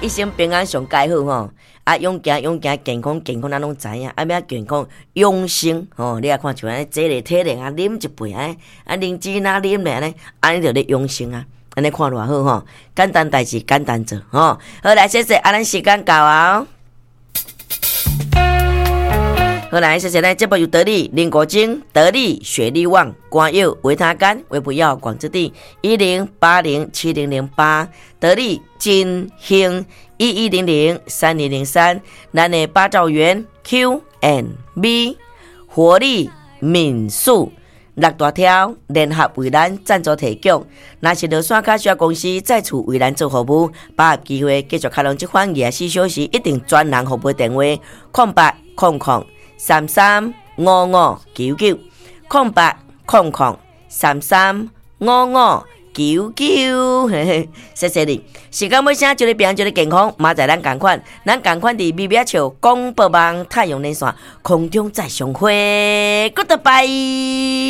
一生平安上蓋好吼。啊，勇行勇行，健康健康，咱攏知影。啊，欲健康養生吼，你啊看像按呢，坐咧體能啊，啉一杯按呢，啊，靈芝若啉咧按呢，按呢就咧養生啊。按呢看偌好吼，簡單代誌簡單做吼。好來，謝謝，啊，咱時間到啊。好來，謝謝咱節目由得力林國晶、得力雪力旺、關友維他乾、維普藥廣治店10807008，得力金興11003003，咱的八兆元 Q and B 活力民宿六大條聯合為咱贊助提供，若是落山卡小公司再次為咱做服務，把握機會繼續敲攏這款24小時一定專人服務電話：0800335599，0800335599，嘿嘿，謝謝你。時間尾聲，祝你平安，祝你健康，明仔載咱仝款，咱仝款佇微微笑廣播網太陽連線空中再相會，Goodbye。